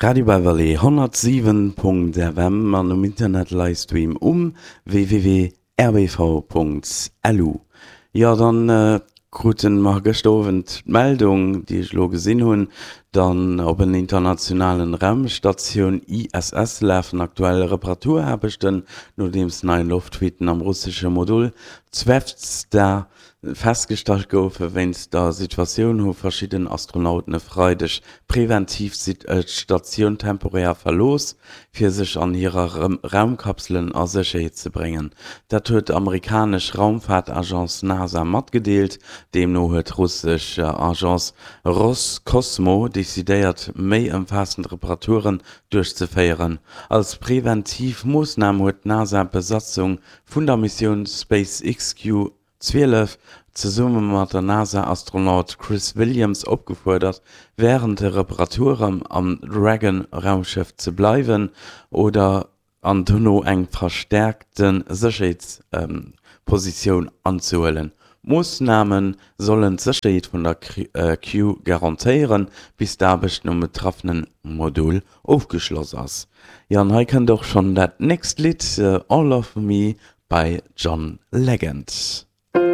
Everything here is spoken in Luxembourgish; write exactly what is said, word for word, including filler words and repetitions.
Radio Beverly honnertsiwen Punkt F M an um Internet Livestream um W W W P L U. Jo, dann kruten mer gëschter Owend d'Meldung, déi ech elo gesinn hunn, dann op en internationalen Raumstatioun I S S lafen aktuell Reparaturaarbechten, nodeems nei Loftfuiten am russesche Modul Zvezda festgestallt goufen. Wéinst der Situatioun hu verschidden Astronauten e Freideg preventiv d'Statioun temporär verlooss, fir sech an hirer Raumkapselen a Sécherheet ze bréngen. Dat huet d'amerikanesch Raumfaartagence NASA matgedeelt. Deemno huet d'russesch Agence Roskosmos decidéiert, méi ëmfaassend Reparaturen duerchzeféieren. Als preventiv Moossnam huet d'NASA d'Besatzung vun der Missioun SpaceX Crew zwielef zesumme mat der NASA-Astronaut Chris Williams opgefuerdert, wärend de Reparaturen am Dragon-Raumschëff ze bleiwen oder an dono eng verstäerkte Sécherheetspositioun anzehuelen. D'Moossname sollen d'Sécherheet vun der Crew garantéieren, bis d'Aarbechten um betraffene Modul ofgeschloss ass. Jo, an hei kënnt och schonn dat nächst Lidd, All of Me by John Legend.